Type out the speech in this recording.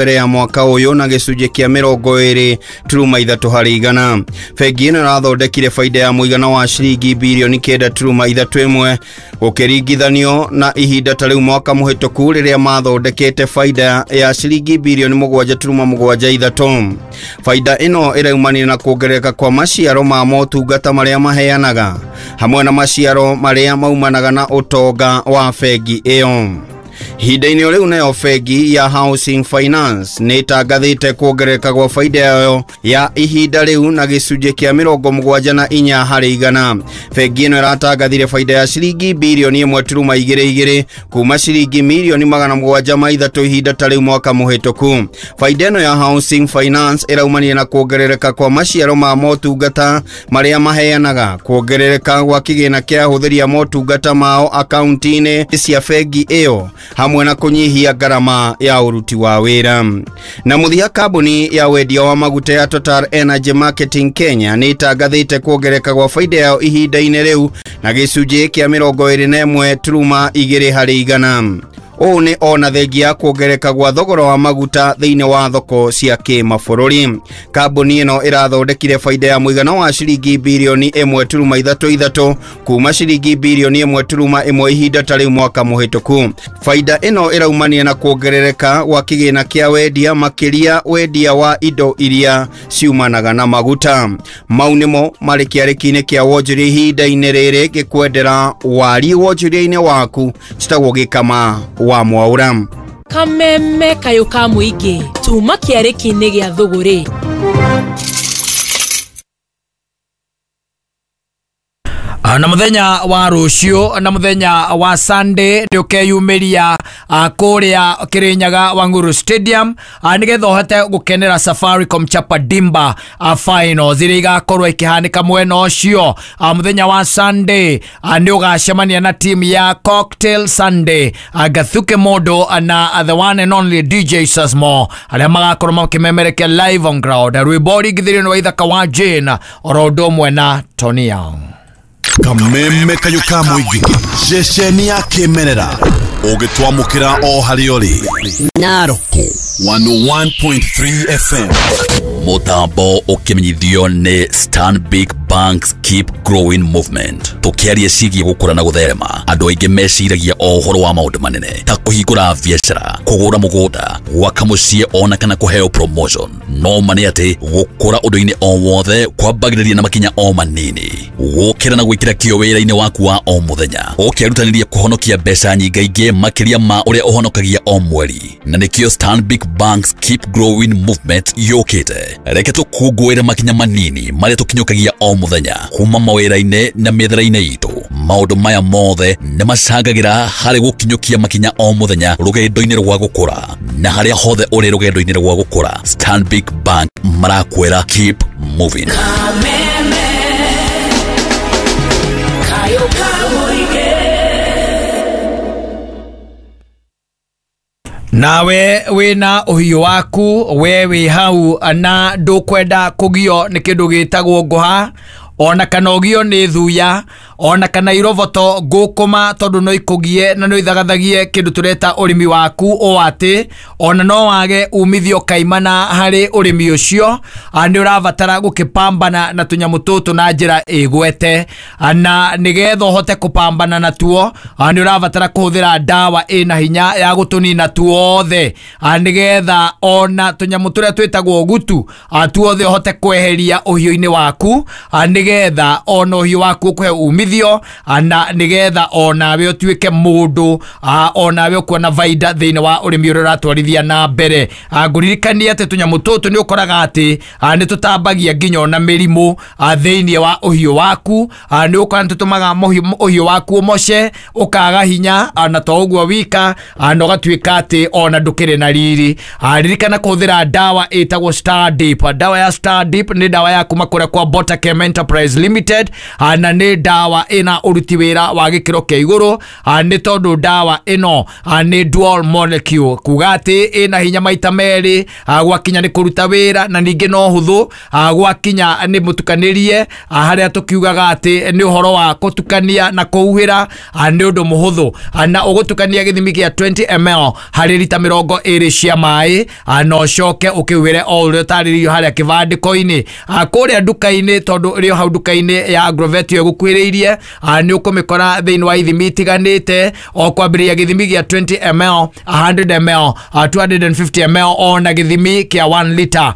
Mbere ya mwaka ũyũ na gĩcunjĩ kĩa 23.3 harĩ igana. Bengi ĩno ĩrathondekire baida ya mũigana wa ciringi birioni 9.31 gũkĩringithanio na ihinda ta rĩu mwaka mũhĩtũku rĩrĩa mathondekete baida ya ciringi birioni 7.73. Baida ĩno ĩraumanire na kuongerereka kwa maciaro ma motungata marĩa maheanaga hamwe na maciaro marĩa maumanaga na ũtonga wa bengi ĩyo. Ihinda-inĩ rĩu nayo bengi ya Housing Finance nĩ ĩtangathĩte kuongerereka gwa baida yayo ya ihinda rĩu na gĩcunjĩ kĩa 74 harĩ igana. Bengi ĩno ĩratangathire baida ya ciringi birioni 1.22 kuma ciringi mirioni 703 ihinda ta rĩu mwaka mũhĩtũku. Baida ĩno ya Housing Finance ĩraumanire na kuongerereka kwa maciaro ma motungata marĩa maheanaga, kuongerereka gwa kĩgĩna kĩa ahũthĩri a motungata mao akaunti-inĩ cia bengi ĩyo hamwe na kunyihia ngarama ya uruti wa wĩra. Na mũthia, kambuni ya wendia wa maguta ya Total Energy Marketing Kenya nĩ ĩtangathĩte kuongerereka gwa baida yao ihinda-inĩ rĩu na gĩcunjĩ kĩa 21.2 harĩ igana. Ũũ nĩ ona thengia ya kuongerereka gwa thogora wa maguta thĩinĩ wa thoko cia kĩmabũrũri. Kambuni ĩno ĩrathondekire baida ya mũigana wa ciringi birioni 1.33 kuma ciringi birioni 1.1 ihinda ta rĩu mwaka mũhĩtũku. Baida ĩno ĩraumanire na kuongerereka gwa kĩgĩna kĩa wendia, makĩria wendia wa indo iria ciumanaga na maguta. Mau nĩmo marĩ kĩarĩki-inĩ kĩa wonjoria ihinda-inĩ rĩrĩ ngĩkwendera wari wonjoria-inĩ waku citagwo Gĩkama wa Mwaura. Kameme kayũ ka mũingĩ tuma kĩarĩki-inĩ gĩa thũgũrĩ. Na muthenya wa rũciũ na muthenya wa Sunday nĩ ũkeyumĩria kũrĩa Kĩrĩnyaga Wang'uru Stadium nĩgetha ũhote gũkenera Safaricom Chapa Dimba finals iria igakorwo ikĩhanĩka mwena ũcio. Muthenya wa Sunday nĩ ũgacemania na team ya Cocktail Sunday, Gathuke Modo na the one and only DJ Sasmo arĩa magakorwo makĩmemerekia live on ground rwĩmbo ringithĩrio nĩ wa Ithaka wa Jane oro ũndũ ũmwe na Tony Young. Kameme kayũ ka mũingĩ ceceni ya kĩmerera ũgĩtwamũkĩra o harĩa ũrĩ. Naroko 101.3 FM. Mũtambo ũkĩmenyithio nĩ Stanbic Banks Keep Growing Movement. Tũkĩaria ciĩgiĩ gũkũra na gũtherema, andũ aingĩ meciragia o ũhoro wa maũndũ manene ta kũhingũra biacara, kũgũra mũgũnda, gwaka mũciĩ ona kana kũheo promotion. No ma nĩ atĩ gũkũra ũndũ-inĩ o wothe kwambagĩrĩria na makinya o manini. Gũkĩra na gwĩkĩra kĩo wĩra-inĩ waku wa o mũthenya, ũkĩrutanĩria kũhonokia mbeca nyingaingĩ makĩria ma ũrĩa ũhonokagia o mweri. Na nĩkĩo Stanbic Banks Keep Growing Movement yũkĩte. Reke tũkũngũĩre makinya manini marĩa tũkinyũkagia o mũthenya kuma mawĩra-inĩ na mĩethere-inĩ itũ. Maũndũ maya mothe nĩ macangagĩra harĩ gũkinyũkia makinya o mũthenya rũgendo-inĩ rwa gũkũra. Na harĩa hothe ũrĩ rũgendo-inĩ rwa gũkũra, Stanbic Bank marakwĩra keep moving. Nawe wĩna ũhiũ waku, we wĩ hau na ndũkwenda kũgio nĩ kĩndũ gĩtagwo ngũha ona kana ũgio nĩ thuya ona kana iroboto ngũkũma, tondũ no ikũgie na no ithagathagie kĩndũ tũreta ũrĩmi waku o atĩ ona no wage umithio kaimana harĩ ũrĩmi ũcio. Nĩ ũrabatara gũkĩpambana na tũnyamũ tũtũ na njĩra ĩgwete, na nĩgetha ũhote kũpambana natuo nĩ ũrabatara kũhũthĩra ndawa ĩna hinya ya gũtũnina tuothe, nĩgetha ona tũnyamũ tũrĩa twĩtagwo gutu tuothe ũhote kweheria ũhiũ-inĩ waku, nĩgetha ona ũhiũ waku ũkũhe umithio, na nĩgetha onawe ũtuĩke mũndũ onawe ũkuona baida thĩinĩ wa ũrĩmi ũrĩa ũratwarithia na mbere. Ngũririkanie atĩ tũnyamũ tũtũ nĩ ũkoraga atĩ nĩ tũtambagia nginya ona mĩrimũ thĩinĩ wa ũhiũ waku. Nĩ ũkora nĩ tũtũmaga ũhiũ waku ũmoce, ũkaga hinya, na to ũguo wika na ũgatuĩka atĩ ona ndũkĩrĩ na riri. Ririkana kũhũthĩra ndawa ĩtagwo Star Deep. Ndawa ya Star Deep nĩ ndawa ya kuma kũrĩa kwa Botachem Enterprise. Enterprise Limited, na nĩ ndawa ĩna ũruti wĩra wa gĩkĩro kĩa igũrũ, nĩ tondũ ndawa ĩno nĩ dual molecule, kuga atĩ ĩna hinya maita merĩ gwakinya nĩ kũruta wĩra, na ningĩ no hũthũ gwakinya nĩ mũtukanĩrie, harĩa tũkiugaga atĩ nĩ ũhoro wa kũtukania na kũhuhĩra, nĩ ũndũ mũhũthũ, na ũgũtukania gĩthimi kĩa 20 ml harĩ rita 20 cia maĩ, na ũcoke ũkĩhuhĩre o ũrĩa ũtarĩrĩirio harĩa kĩbandĩko-inĩ. Kũrĩa nduka-inĩ, tondũ ĩrĩ o hau nduka-inĩ ya Agrovet ĩyo ĩgũkuhĩrĩirie, nĩ ũkũmĩkora thĩinĩ wa ithimi itiganĩte, o kwambĩrĩria gĩthimi gĩa 20 ml, 100 ml, 250 ml, ona gĩthimi kĩa 1 liter.